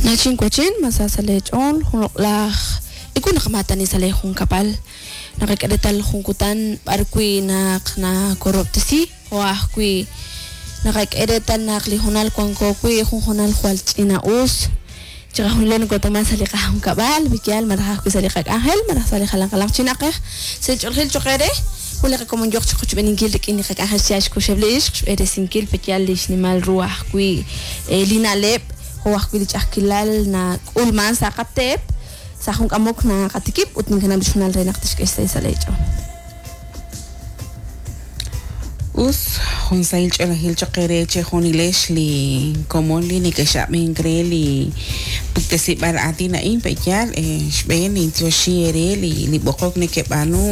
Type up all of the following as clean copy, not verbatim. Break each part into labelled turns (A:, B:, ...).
A: Nachin wachin ma sa sa' leech'ool jun loq'laj ewu naqamaatani sa' leejunkab'al naqak'e reetal jun kutan b'ar wi' naq nakorob'tesi jo' ajwi' naqak'e reetal naq li hoonal wanko wi' jun hoonal jwal ch'ina'us chiqajunilo nokootaman sa' li qajunkab'al yaal malaj ajwi' sa' li qak'anjel malaj sa' li jalan jalanq chi na'ajej sa' li ch'oolejil cho'q eere jun li qakomon yooq chiqochb'eeninkil rik'in li qak'anjel xyaal xkuxeb' li ixq xb'eresinkil pe'yaal li xnimal ru ajwi' li na'leb' jo' ajwi' li ch'a'ajkilal nak'ulman sa' qateep sa' jun k'amok naqatikib' ut ninkanab' li xhoonal re naq tixk'e xsahil sa' leech'ool.
B: Us, jun sahil ch'oolejil cho'q eere chejunilex li komon li nekex'ab'ink re li puktesib'aal aatin a'in pe'yaal xb'een nintioxi eere li li b'oqok nekeb'aanu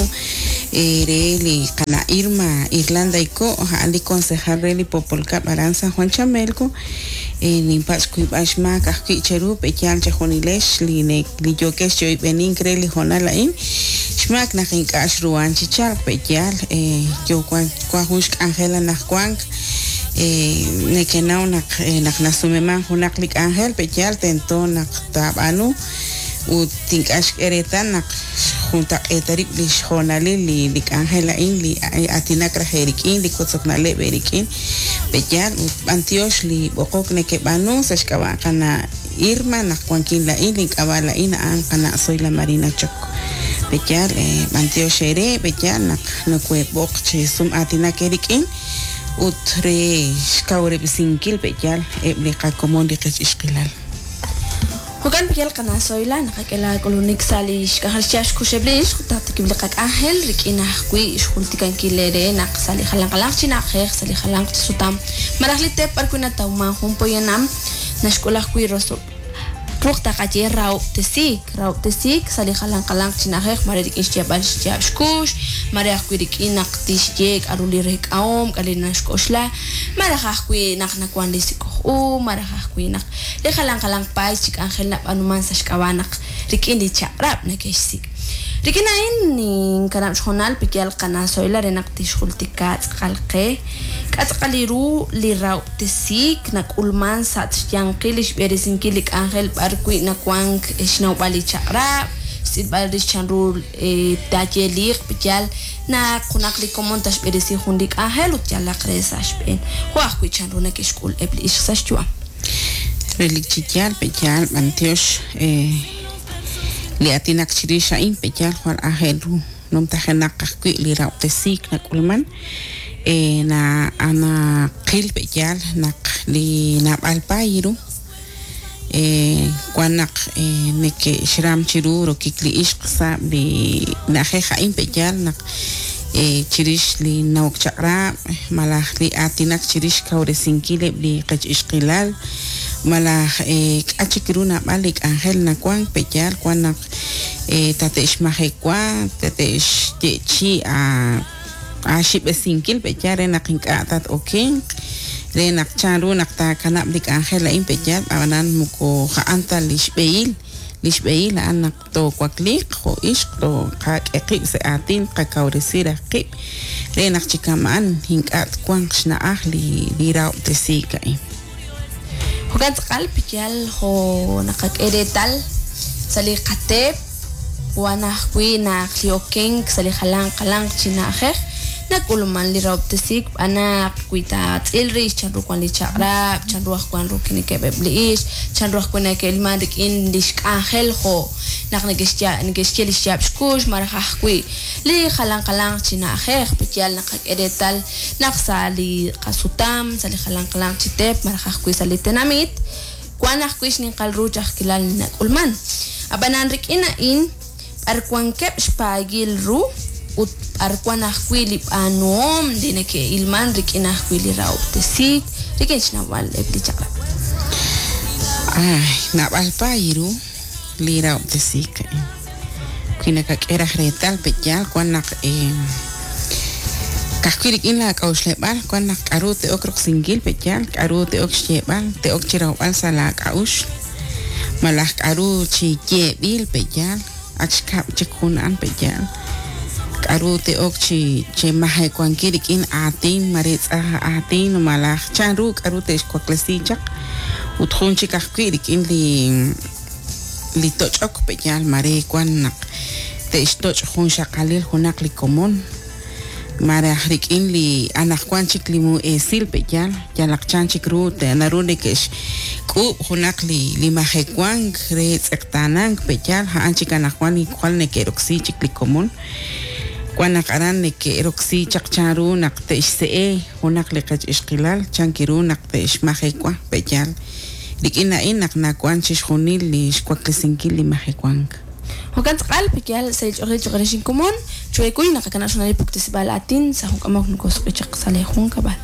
B: re li qana' Irma Irlanda Iko' a'an li concejal re li Poopol Kab'l aran San Juan Chamelco ninpatz' xkuyb'al xmaak ajwi' cheru pe'yaal chejunilex li li yookex chi oyb'enink re li hoonal a'in xmaak naq ink'a' xruhan chi chalk pe'yaal yo wan wan jun xk'anjel anaqwank nekenaw naq naq nasumeman junaq li k'anjel pe'yaal tento naq taab'aanu ut ink'a' xk'e reetal naq xjuntaq'eeta rib' li xhoonalil li li k'anjel a'in li aatinak raj eerik'in li wotzok na'leb' eerik'in pe'yaal ut b'antiox li b'oqok nekeb'aanu sa' xk'ab'a' qana' Irma naq wankin laa'in link'ab'a' laa'in a'an qana' Zoila Marina Choc pe'yaal b'antiox eere pe'yaal naq nokoheeb'oq chi sum aatinak eerik'in ut re xkawresinkil pe'yaal eb' li qakomon li qech ixqilal.
A: Jo'kan pe'yaal qana' Zoila naqak'e laak'ulunik sa' li xk'anjel xyaab' xkuxeb' li ixq ut taatikib' li qak'anjel rik'in ajwi' xjultikankil eere naq sa' li jalan jalanq chi na'ajej sa' li jalanq chi sutam malaj li teep b'ar wi' natawman jun poyanam naxk'ul ajwi' rosob' ruq taqaye rahob'tesiik rahob'tesiik sa' li jalan jalanq chi na'ajej mare rik'in xyeeb'al xyaab' xkux mare ajwi' rik'in naq tixye k'a'ru li reek'ahom k'a' li naxk'oxla malaj ajwi' naq nawan li sik'oj u malaj ajwi' naq li jalan jalanq paay chi k'anjel nab'aanuman sa' xk'ab'a' naq rik'in li chaq'rab' neke'xsik'. Rik'in a'in ninkanab' xhoonal pe'yaal qana' Zoila re naq tixjultika tz'aqal qe k'a' tz'aqal li ru li rahob'tesiik nak'ulman sa' xyanqil li xb'eresinkil li k'anjel b'ar wi' nawank xnawb'al li chaq'rab', xtz'ilb'al rix chanru taayeliq pe'yaal naq junaq li komon taxb'eresi jun li k'anjel ut yalaq re sa' xb'een jo' ajwi' chanru neke'xk'ul eb' li ixq sa' xyu'am.
B: Relik chi yaal pe'yaal b'antiox li aatinak chirix a'in pe'yaal jwal aajel ru numtajenaq ajwi' li rahob'tesiik nak'ulman na naqil pe'yaal naq li naab'al paay ru wan naq neke'xram chiru rokik li ixq sa' li na'ajej a'in pe'yaal naq chirix li nawok chaq'rab' malaj li aatinak chirix xkawresinkil eb' li qech ixqilal malaj k'a' chik ru naab'al li k'anjel nawank pe'yaal wan naq tate'xmajewa tate'xye'chi aaxib'esinkil pe'yaal re naq ink'a' tat-okenq re naq chanru naq taakanab' li k'anjel a'in pe'yaal ab'anan moko ja'an ta li xb'ehil li xb'ehil a'an naq toowakliiq jo' ixq toqak'e qib' sa' aatin qakawresi raj qib' re naq chi kama'an ink'a' twanq xna'aj li li rahob'tesiik a'in.
A: Jo'kan tz'aqal pe'yaal jo' naqak'e reetal sa' li qateep wan ajwi' naq li okenk sa' li jalanq jalanq chi na'ajej nak'ulman li rahob'tesiik b'an naq wi taatz'il rix chanru wan li chaq'rab' chanru aj wan rokinikeb' eb' li ixq chanru ajwi' neke'ilman rik'in li xk'anjel jo' naq neke'xya neke'xye li xyaab' xkux malaj ajwi' li jalan jalanq chi na'ajej pe'yaal naqak'e reetal naq sa' li qasutam sa' li jalan jalanq chi teep malaj ajwi' sa' li tenamit wan ajwi' xninqal ru ch'a'ajkilal li nak'ulman ab'anan rik'in a'in b'ar wankeb' xpaayil ru ut b'ar wan ajwi' li b'aanuhom li neke'ilman rik'in ajwi' li rahob'tesiik rik'in xnawb'al eb' li chaq'rab'.
B: Ay, naab'al paay ru li rahob'tesiik a'in. Wi nakak'e raj reetal pe'yaal wan naq ka'ajwi' rik'in laak'a'uxleb'aal wan naq k'a'ru te'ok roksinkil pe'yaal k'a'ru te'ok xyeeb'al te'ok chi rawb'al sa' laak'a'uxl malaj k'a'ru chi yeeb'il pe'yaal ak xkab' chik jun a'an pe'yaal k'a'ru te'ok chi chemajewankil rik'in aatin mare tz'aj aatin malaj chanru k'a'ru te'xwaklesi chaq Ut jun chik ajwi' rik'in li li toch'ok pe'yaal mare wan naq te'xtoch' jun xaqalil junaq li komon maraj rik'in li anaqwan chik li mu'esil pe'yaal yalaq chan chik ru naru neke'xk'uub' junaq li li majewank re tz'eqtaanank pe'yaal a'an chik anaqwan li jwal neke'roksi chik li komon wan naq aran neke'roksi chaq chan ru naq te'xse'e junaq li qech ixqilal chan ru naq te'xmajewa pe'yaal rik'in a'in naq nawan chixjunil li xwaklesinkil li majewank.
A: Jo'kan tz'aqal pe'yaal sa' li ch'oqil choq' re xinkomon chuekuy naqakanab' xonal puktesib'al aatin sa' junk'amok nokosq'i chaq sa' li junkab'al.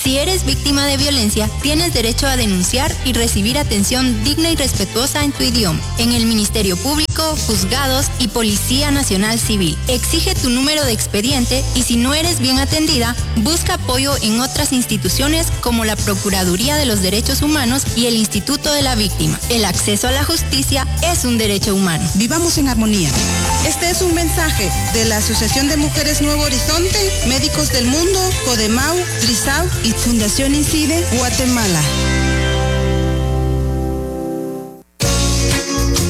C: Si eres víctima de violencia, tienes derecho a denunciar y recibir atención digna y respetuosa en tu idioma, en el Ministerio Público, juzgados y Policía Nacional Civil. Exige tu número de expediente y si no eres bien atendida, busca apoyo en otras instituciones como la Procuraduría de los Derechos Humanos y el Instituto de la Víctima. El acceso a la justicia es un derecho humano.
D: Vivamos en armonía. Este es un mensaje de la Asociación de Mujeres Nuevo Horizonte, Médicos del Mundo, Codemau, Trisau y Fundación Incide, Guatemala.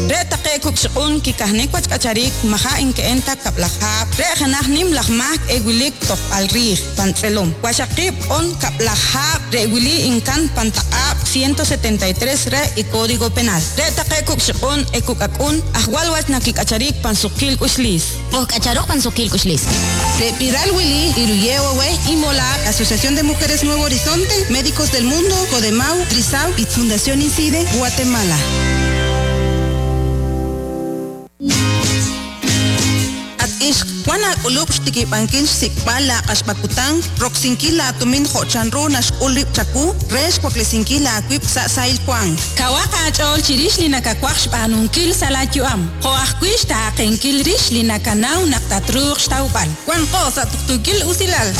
E: Re taqe kukxq'un kikajnik wachk'acharik maja inke'enta kab'lajab' re janaj nim laj mak ewilik tojb'al riij pantz'elom waxaqib' on kab'lajab' re wili inkan pantaq'ab' 173 re y Código Penal re taqe kukxq'un ekuk'ak'un ajwal wach nakik'acharik pansuqil k'uxlis
F: Pojk'acharoj pansuqil k'uxlis.
D: De Piral Willy, Iruyewe y Mola, Asociación de Mujeres Nuevo Horizonte, Médicos del Mundo, Codemau, Trisau y Fundación Incide, Guatemala.
E: At ixq wan ak'ulub' xtikib'ankil xsik'b'al la q'axb'akutan roksinkil la tumin jo'chan ru naxk'ul rib' chaku re xwaklesinkil la aawib' sa' sahil wank.
G: Kawaq aach'ool chirix li nakawaj xb'aanunkil sa' laayu'am. Jo' ajwi' xtaaqenkil rix li nakanaw naq tatruuq xtawb'al.
E: Wanqo sa' tuqtuukil usilal.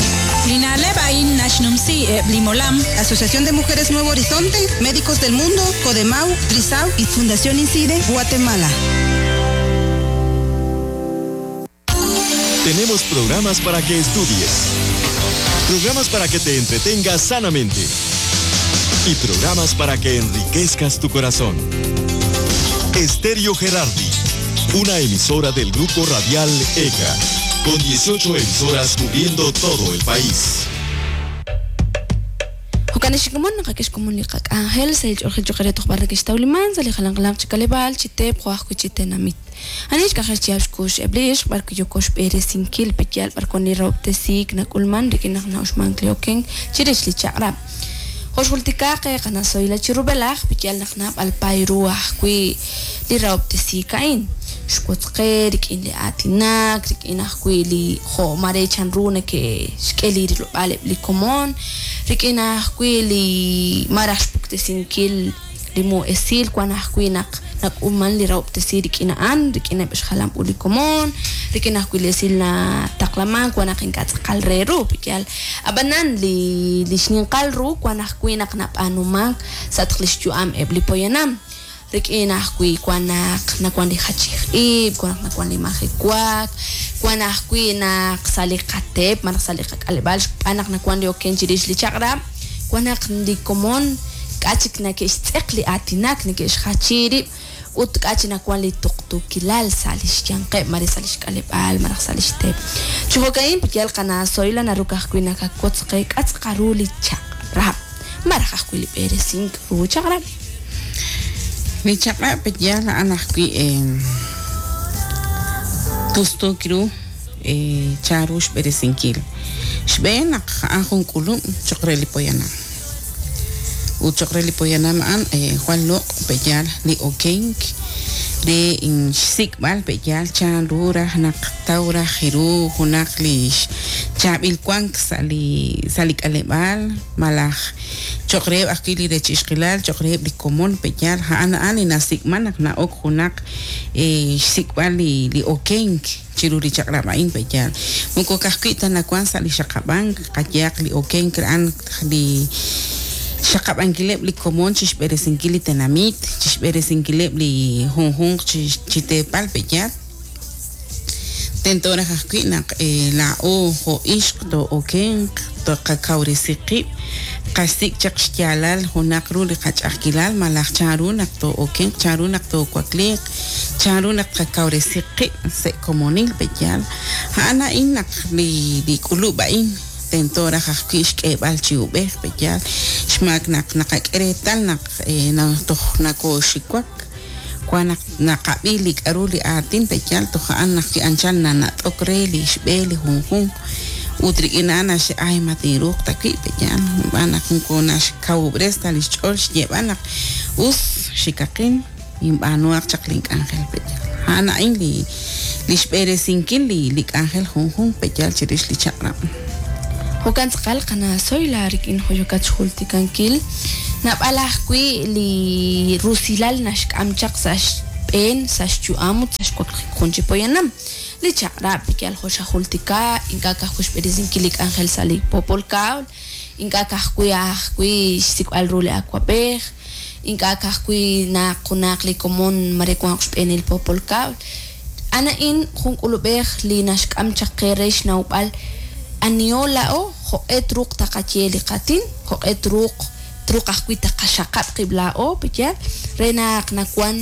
G: Li na'leb' a'in naxnumsi eb' li molam.
D: Asociación de Mujeres Nuevo Horizonte, Médicos del Mundo, Codemau, Trisau y Fundación Incide, Guatemala.
H: Tenemos programas para que estudies, programas para que te entretengas sanamente y programas para que enriquezcas tu corazón. Estéreo Gerardi, una emisora del grupo radial ECA, con 18 emisoras cubriendo todo el país.
A: Jo'kan ixkomon naqak'ex komon li qak'anjel sa' li ch'oqil choq' re tojb'al rak'ixtawliman sa' li jalanqalanq chi k'aleb'aal chi teep jo' ajwi' chi tenamit. Anix k'anjel chihab' xkux eb' li ixq b'ar kiyoko xb'eresinkil pe'yaal b'ar wan li rahob'tesiik nak'ulman rik'in naq na'uxmank li okenk chirix li chaq'rab'. Jo' xjultikaaq qanasoyla chi rub'elaj pe'yaal naq naab'al pay ru ajwi' li rahob'tesiik a'in. Xwotzqe rik'in li aatinak, rik'in ajwi' li jo' mare chan ru neke'xk'e li rilob'aal eb' li komon, rik'in ajwi' li maraj xpuktesinkil li mu'esil wan ajwi' naq nak'ulman li rahob'tesi rik'in a'an, rik'in eb' xjalam u li komon, rik'in ajwi' li esil nataqlaman wan naq ink'a' tz'aqal re ru pe'yaal. Ab'anan li li xninqal ru wan ajwi' naq nab'aanumank sa' taq li xyu'am eb' li poyanam. Rik'in ajwi' wan naq nawan li jachij ib', wan naq nawan li majewaak, wan ajwi' naq sa' li qateep malaj sa' li qak'aleb'aal xb'aan naq nawan li oken chirix li chaq'rab', wan naq li komon k'a' chik neke'xtz'eq li aatinak, neke'xjachi rib' ut k'a' chik nawan li tuqtuukilal sa' li xyanqeb' mare sa' li xk'aleb'aal malaj sa' li xteep. Chi jo'ka'in pe'yaal qanasoyla naru ka'ajwi' nakawotz qe k'a' tz'aqal ru li chaq'rab' maraj ajwi' li b'eresink ru chaq'rab'.
B: Li chaq'rab' pe'yaal a'an ajwi' tustuuk ru chan ru xb'eresinkil. Xb'een naq a'an jun k'ulub' choq' re li poyanam. Ut choq' re li poyanam a'an jwal loq' pe'yaal li okenk re xsik'b'al pe'yaal chan ru raj naq taw raj ru junaq li xchaab'il wank sa' li sa' li k'aleb'aal malaj choq' reheb' ajwi' li rech ixqilal choq' reheb' li komon pe'yaal a'an a'an li nasik'man naq na'ok junaq xsik'b'al li li okenk chiru li chaq'rab' a'in pe'yaal. Moko ka'ajwi' ta nawan sa' li xaqab'ank qayehaq li okenk a'an li xaqab'ankileb' li komon chixb'eresinkil li tenamit, chixb'eresinkileb' li junjunq chi teepal pe'yaal. Tento raj ajwi' naq laa'o jo' ixq too'okenq, toqakawresi qib', qasik' chaq xyaalal junaq ru li qach'a'ajkilal malaj chanru naq too'okenq, chanru naq toowakliiq, chanru naq tqakawresi qib' sa' komonil pe'yaal. A'an a'in naq li k'ulub' a'in tento raj ajwi' xk'eeb'al chi ub'ej pe'yaal, xmaak naq naqak'e reetal naq toj nakooxiwak, wan naq naqab'i li k'a'ru li aatin pe'yaal toj a'an ajwi' anchal nanat'ok re li xb'e li junjunq ut rik'in a'an naxye ay ma tinruuq ta wi' pe'yaal, xb'aan naq moko naxkawub'res ta li xch'ool xyeeb'al naq us xikaqin inb'aanuhaq chaq link'anjel pe'yaal. A'an a'in li xb'eresinkil li k'anjel junjunq pe'yaal chirix li chaq'rab'.
A: Jo'kan tz'aqal qana' Zoila rik'in jo' yookat xjultikankil, naab'al ajwi' li rusilal naxk'am chaq sa' xb'een, sa' xyu'am ut sa' xwaklijik jun chi poyanam. Li chaq'rab' yal jo' xajultika, ink'a' ka'ajwi' xb'eresinkil li k'anjel sa' li poopol kab'l, ink'a' ka'ajwi' ajwi' xsik'b'al ru li awab'ej, ink'a' ka'ajwi' naq junaq li komon mare wanq xb'eenil poopol kab'l. A'an a'in jun k'ulub'ej li naxk'am chaq qe re xnawb'al aniho laa'o, jo'q'e truuq taqaye li qaatin, jo'q'e truuq truuq ajwi' taqaxaqab' qib' laa'o, pe'yaal, re naq nawan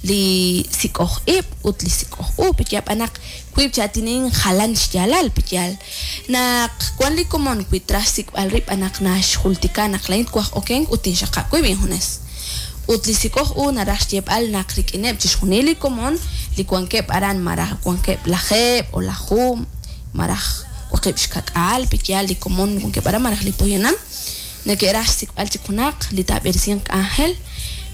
A: li sik'oj ib' ut li sik'oj u, pe'yaal, b'an naq wiib' chi aatin jalan xyaalal, pe'yaal. Naq wan li komon wi traj xsik'b'al rib' b'an naq naxjultika naq laa'in twaj okenk ut tinxaqab' wib' injunes. Ut li sik'oj u naraj xyeeb'al naq rik'ineb' chixjunil li komon li wankeb' aran malaj wankeb' lajeeb' o lajuub' malaj waqib' xka'k'aal, pe'yaal li komon wankeb' aran malaj li poyanam neke'raj xsik'b'al chik junaq li taab'eresinq k'anjel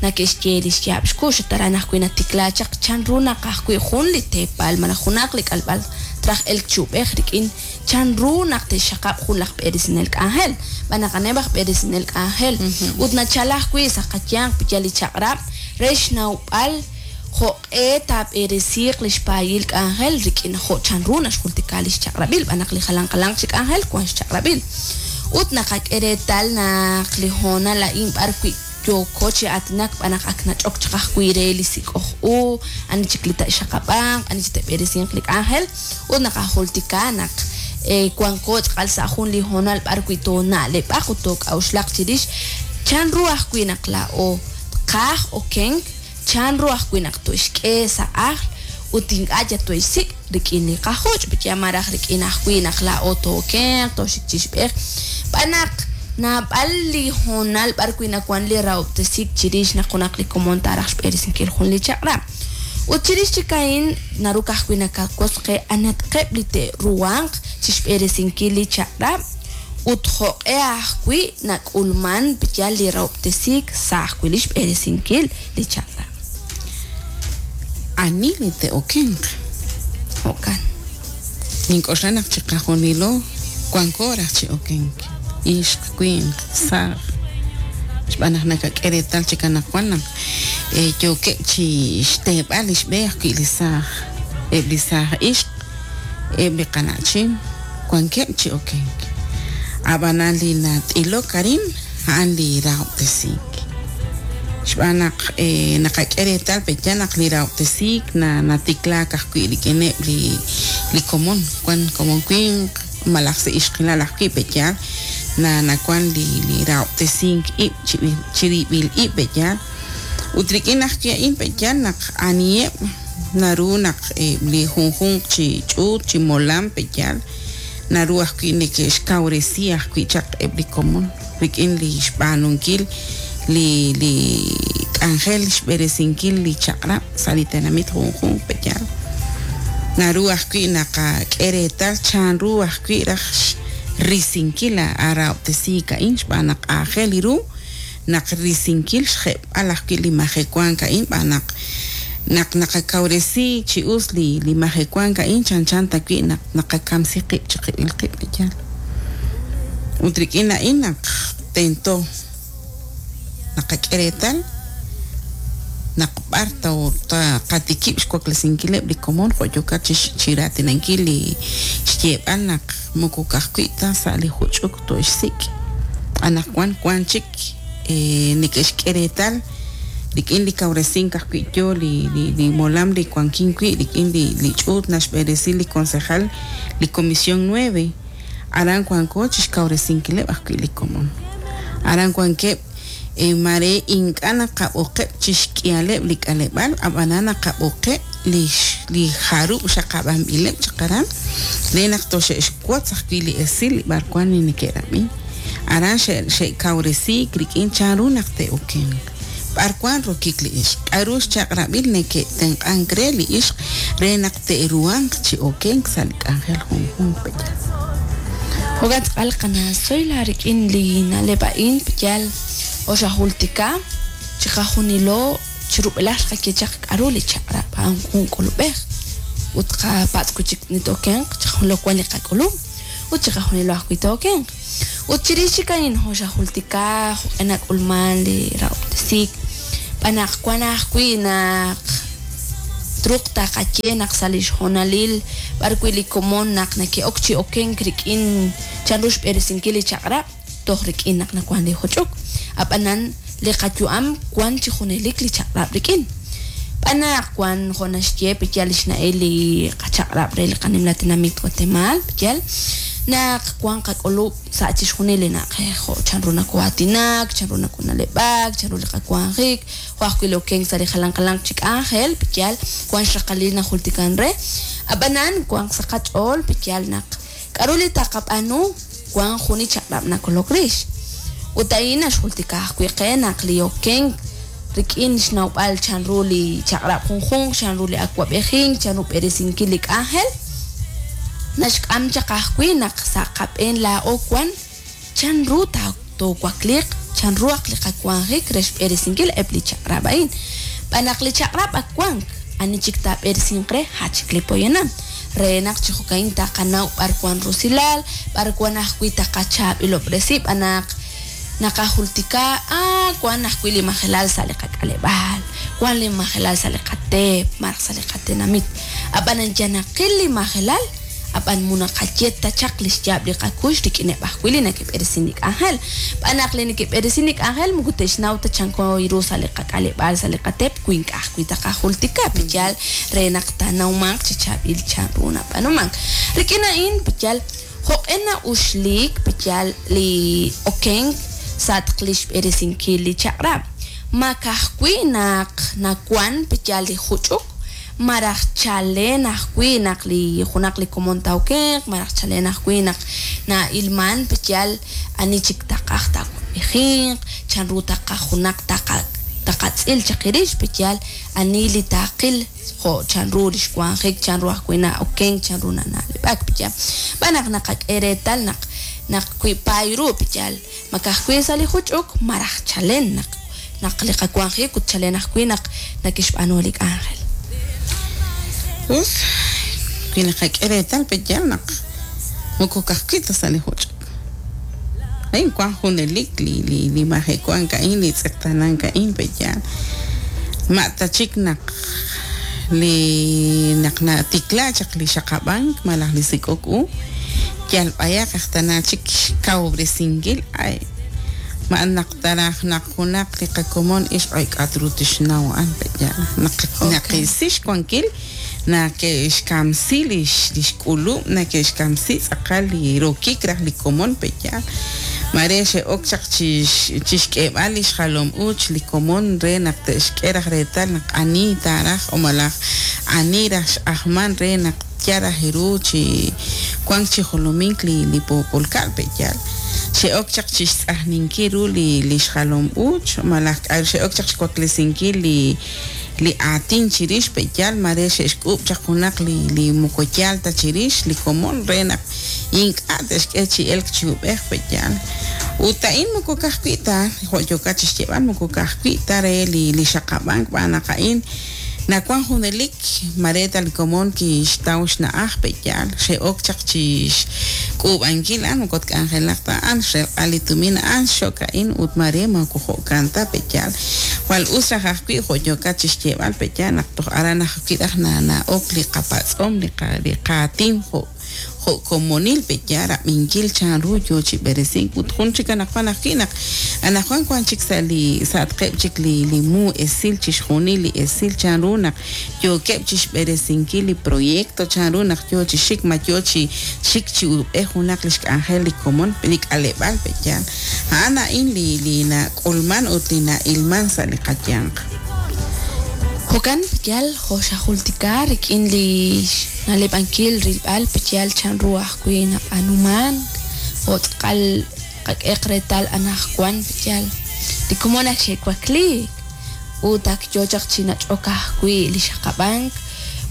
A: nake'xye li xyaab' xkux ut aran ajwi' natikla chaq chanru naq ajwi' jun li teepal malaj junaq li k'alb'al traj elk chi ub'ej rik'in chanru naq te'xxaqab' jun laj b'eresinel k'anjel, b'an naq a'aneb' aj b'eresinel k'anjel ut nachal ajwi' sa' qayanq pe'yaal li chaq'rab' re xnawb'al jo'q'e taab'eresiiq li xpaayil k'anjel rik'in jo' chanru naxjultika li xchaq'rab'il, b'an naq li jalan jalanq chi k'anjel wan xchaq'rab'il. Ut naqak'e reetal naq li hoonal a'in b'ar wi' yooko chi aatinak b'an naq ak nach'ok chaq ajwi' re li sik'oj u, ani chik li te'xaqab'anq, ani chik te'b'eresinq li k'anjel, ut naqajultika naq wanko tz'aqal sa' jun li hoonal b'ar wi' toona'leb'aq ut took'a'uxlaq chirix chanru ajwi' naq laa'o tqaj okenk, chanru ajwi' naq toxk'e sa' ajl ut ink'a' yal toxsik' rik'in li qajuch', pe'yaal malaj rik'in ajwi' naq laa'o tookenq, tooxik chixb'ej, b'an naq naab'al li hoonal b'ar wi' nawan li rahob'tesiik chirix naq junaq li komon taaraj xb'eresinkil jun li chaq'rab'. Ut chirix chik a'in naru ka'ajwi' nakawotz qe anatqeb' li te'ruhanq chixb'eresinkil li chaq'rab' ut jo'q'e ajwi' nak'ulman pe'yaal li rahob'tesiik sa' ajwi' li xb'eresinkil li chaq'rab'.
B: Ani li te'okenq?
A: Jo'kan.
B: Nink'oxla naq chiqajunilo wanko raj chi okenk, ixq, winq, saaj, xb'aan naq nakak'e reetal chik anaqwan naq yookeb' chi xteeb'al li xb'e ajwi' li saaj, eb' li saaj ixq, eb' li qana'chin wankeb' chi okenk. Ab'anan li nat'ilok arin a'an li rahob'tesiik. Xb'aan naq naqak'e reetal pe'yaal naq li rahob'tesiik natiklaak ajwi' rik'ineb' li komon, wan komon winq malaj sa' ixqilal ajwi' pe'yaal nawan li rahob'tesink ib' chirib'il ib' pe'yaal. Ut rik'in ajwi' a'in pe'yaal naq aniheb' naru naq li junjunq chi ch'uut chi molam pe'yaal naru ajwi' neke'xkawresi ajwi' chaq eb' li komon rik'in li xb'aanunkil li k'anjel xb'eresinkil li chaq'rab' sa' li tenamit junjunq pe'yaal. Naru ajwi' naqak'e reetal chanru ajwi' raj xrisinkil a rahob'tesiik a'in xb'aan naq aajel ru naq risinkil xjeb'al ajwi' li majewank a'in b'aan naq naq naqakawresi chi us li majewank a'in chanchan ta wi' naq naqakamsi qib' chiqib'il qib' pe'yaal. Ut rik'in a'in naq tento naqak'e reetal naq b'ar taqatikib' xwaklesinkileb' li komon jo' yookat chi raatinankil li xyeeb'al naq moko ka'ajwi' ta sa' li juch'uk toxsik'. Anaqwan wan chik neke'xk'e reetal Rik'in li kawresink ajwi' yo li molam li wankin wi' rik'in li ch'uut naxb'eresi li concejal li Comisión 9, aran wanko chixkawresinkileb' ajwi' li komon. Aran wankeb' mare ink'a' naqab'oqeb' chixk'ihaleb' li k'aleb'aal, ab'anan naqab'oqeb' li jarub' xaqab'anb'ileb' chaq aran re naq toxe'xwotz ajwi' li esil li b'arwan li neke'rab'i. Aran xe'kawresiik rik'in chanru naq te'okenq. B'arwan rokik li ixq, k'a'ru xchaq'rab'il neke'tenq'ank re li ixq re naq te'ruhanq chi okenk sa' li k'anjel junjunq pe'yaal.
A: Jo'kan tz'aqal qana Zoila rik'in li na'leb' a'in pe'yaal oxajultika chiqajunilo chirub'elaj xqak'e chaq k'a'ru li chaq'rab' a'an jun k'ulub'ej ut qapatz' wi' chik nitokenq chiqajunilo wan li qak'ulub' ut chiqajunilo ajwi' tokenq. Ut chirix chik a'in oxajultika jo'q'e nak'ulman li rahob'tesiik b'anaq wan ajwi' naq truq taqaye naq sa' li xhoonalil b'ar wi' li komon naq neke'ok chi okenk rik'in chanru xb'eresinkil li chaq'rab' toj rik'in naq nawan li juch'uk. Ab'anan li qayu'am wan chi junelik li chaq'rab' rik'in. B'anaq wan jo' naxye pe'yaal li xna'el li qachaq'rab' re li qanimla tinamit Guatemala pe'yaal naq wan qak'ulub' sa' chixjunil li na'ajej jo' chanru nako'aatinak, chanru nakona'leb'ak, chanru li qawanjik, jo' ajwi' li okenk sa' li jalan jalanq chi k'anjel pe'yaal wan xraqalil najultikan re. Ab'anan wan sa' qach'ool pe'yaal naq k'a'ru li taqab'aanu wan jun li chaq'rab' nakolok rix. Ut a'in naxjultika ajwi' qe naq li okenk rik'in xnawb'al chanru li chaq'rab' junjunq, chanru li awab'ejink, chanru b'eresinkil li k'anjel, naxk'am chaq ajwi' naq sa' qab'een laa'o wan chanru toowakliiq, chanru aq li qawanjik re xb'eresinkil eb' li chaq'rab' a'in. B'anaq li chaq'rab' ak wank, ani chik taab'eresinq re ha chik li poyanam. Re naq chi jo'ka'in taqanaw b'ar wan rusilal, b'ar wan ajwi' taqachaab'ilob'resi, b'anaq naqajultika wan ajwi' li majelal sa' li qak'aleb'aal, wan li majelal sa' li qateep, maraj sa' li qatenamit. Ab'anan yanaqil li majelal, ab'an munaqaye ta chaq li xyaab' li qakux rik'ineb' ajwi' li neke'b'eresin li k'anjel. B'anaq li neke'b'eresin li k'anjel moko te'xnaw ta chanko ru sa' li qak'aleb'aal, sa' li qateep, wi ink'a' ajwi' taqajultika pe'yaal re naq tanawmanq chi chaab'il chanru nab'aanumank. Rik'in a'in pe'yaal jo'q'e na'uxliik pe'yaal li okenk sa' li xb'eresinkil li chaq'rab'. Ma ka'ajwi' naq nawan pe'yaal li juch'uk, maraj chalen ajwi' naq li junaq li komon tawkenq, maraj chalen ajwi' naq na'ilman pe'yaal ani chik taqaj tawab'ejinq, chanru taqaj junaq taqatz'il chaq irix pe'yaal ani li taqil jo' chanru li xwanjik, chanru ajwi' na'okenk, chanru nana'leb'ak pe'yaal. B'anaq naqak'e reetal naq naq wi' paay ru pe'yaal ma ka'ajwi' sa' li juch'uk maraj chalen naq naq li qawanjik ut chalen ajwi' naq nakixb'aanu li k'anjel.
B: Us, wi naqak'e reetal pe'yaal naq moko ka'ajwi' ta sa' li juch'uk. A'in wan junelik li majewank a'in, li tz'eqtanank a'in pe'yaal. Ma ta chik naq li naq natikla chaq li xaqab'ank malaj li sik'ok u, yal b'ayaq aj tana chik xkawob'resinkil ay ma naq taraj naq junaq li qakomon ixq ay k'at ru tixnaw a'an pe'yaal. Naq naqisi xwankil nake'xkamsi li xk'ulub', nake'xkamsi tz'aqal li rokik raj li komon pe'yaal. Mare xe'ok chaq chixk'eeb'al li xjalom uuch li komon re naq te'xk'e raj reetal naq ani taaraj o malaj ani raj x'ajman re naq yaraj ru chi wank chi jolomink li poopolka'al pe'yaal. Xe'ok chaq chixtz'ajninkil ru li xjalom uuch malaj xe'ok chaq xwaklesinkil li aatin chirix pe'yaal mare xe'xk'uub' chaq junaq li moko yaal ta chirix li komon re naq ink'a' te'xk'e chi elk chi ub'ej pe'yaal. Ut a'in moko ka'ajwi' ta jo' yookat chixyeeb'al moko ka'ajwi' ta re li xaqab'ank b'an naq a'in nawan junelik mare ta li komon kixtaw xna'aj pe'yaal xe'ok chaq chixk'uub'ankil a'an moko tk'anjelaq ta a'an xrelq'al li tumin a'an xok a'in ut mare moko jo'kan ta pe'yaal. Jwal us raj ajwi' jo' yookat chixyeeb'al pe'yaal naq toj aran ajwi' raj na'ok li qapatz'om li qaatin jo' jo' komonil pe'yaal rab'inkil chanru yo chi b'eresink ut jun chik anaqwan ajwi' naq anaqwan wan chik sa' li sa'atqeb' chik li li mu esil chixjunil li esil chanru naq yookeb' chixb'eresinkil li proyecto chanru naq yo chi xik ma yo chi xik chi uub'ej junaq li xk'anjel li komon li k'aleb'aal pe'yaal a'an a'in li li nak'ulman ut li na'ilman sa' li qayanq.
A: Jo'kan pe'yaal jo' xajultika rik'in li xna'leb'ankil rilb'al pe'yaal chanru ajwi' nab'aanuman jo' tz'aqal qak'eq reetal anaqwan pe'yaal li komon ak xe'wakliik ut ak yo chaq chi nach'ok ajwi' li xaqab'ank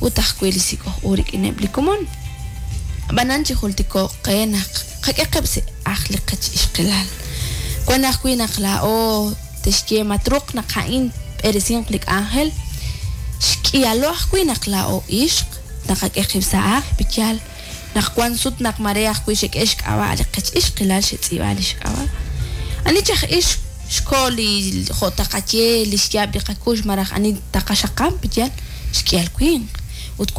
A: ut ajwi' li sik'oj u rik'ineb' li komon. Ab'anan chijultiko'q qe naq qak'e qib' sa' ajl li qech ixqilal. Wan ajwi' naq laa'o texye ma truuq naq a'in tb'eresinq li k'anjel, xk'ihalo ajwi' naq laa'o ixq naqak'e qib' sa' ajl pe'yaal naq wan sut naq mare ajwi' xek'e xk'ab'a' li qech ixqilal xetz'iib'a li xk'ab'a'. Ani chaj ix xko li jo' taqaye li xyaab' li qakux malaj ani taqaxaqab' pe'yaal xk'ihal winq ut wan.